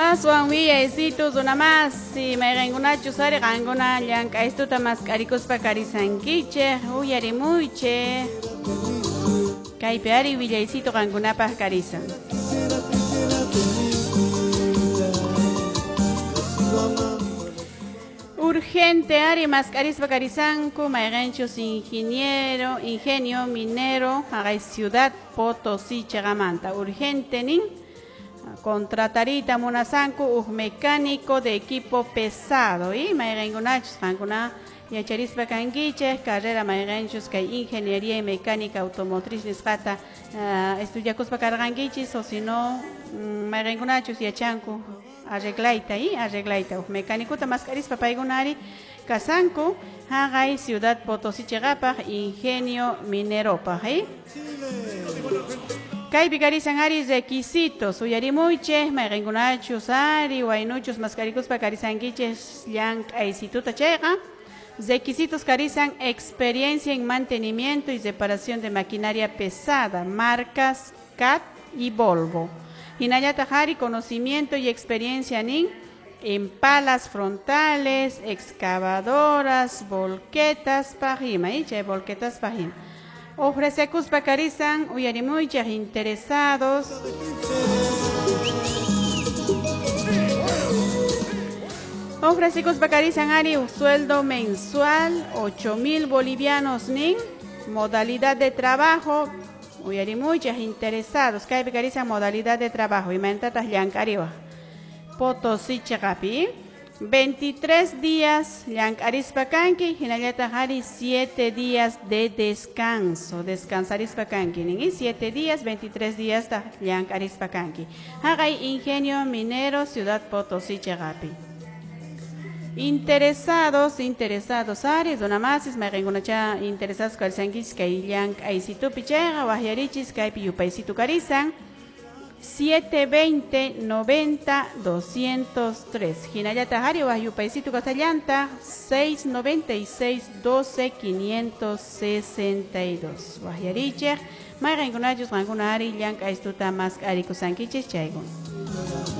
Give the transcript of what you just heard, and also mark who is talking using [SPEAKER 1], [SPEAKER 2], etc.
[SPEAKER 1] Aswan willaysitu runamasi mayqinkunachus ari qankuna llank'aystuta mask'arikuspa karisankichik uyarimuychik kaypi ari willaysitu qankunapaq karisan. Urgente ari mask'arispa karisanku mayqinchus ingeniero, ingenio minero haqay Ciudad Potosí chiqamanta. Urgente nin contratarita munasanku uj mecánico de equipo pesado y mayqinkunachus qankuna yacharispa kankichik carrera mayqinchus kay ingeniería y mecánica automotriz nisqata estudiakuspa karqankichis o si no mayqinkunachus yachanku arreglayta y arreglayta uj mecánicota mask'arispa paykuna ari kasanku haqay Ciudad Potosí chiqapaq ingenio mineropaq Kaypi karisan ari requisitos uyarimuychik mayqinkunachus ari waynuchus mask'arikuspa karisankichik llank'aysituta chayqa. Requisitos karisan experiencia en mantenimiento y reparación de maquinaria pesada, marcas CAT y Volvo. Hinallataq ari conocimiento y experiencia nin en palas frontales, excavadoras, volquetas pajima, chay volquetas pajima. Ofrecekuspa karisan uyarimuychik interesados. Ofrecekuspa karisan ari un sueldo mensual 8,000 bolivianos nin, modalidad de trabajo uyarimuychik interesados kaypi karisan modalidad de trabajo imayntataq llank'ariwaq Potosí chiqapi 23 días llank'arispa kanki hinallataq ari 7 días de descanso descansarispa kanki nin 7 días 23 días llank'arispa kanki haqay ingenio minero Ciudad Potosí chiqapi. Interesados, interesados ari runamasis mayqinkunacha interesados karisankichis kay llank'aysitupi chayqa waqyarichis kaypi yupaysitu karisan 720 90 203. Hinallataq ari waq yupaysitu kasallantaq 696 12 562. Waqyarichik mayqinkunachus qankuna ari llank'aystuta mask'arikusankichis chaykuna.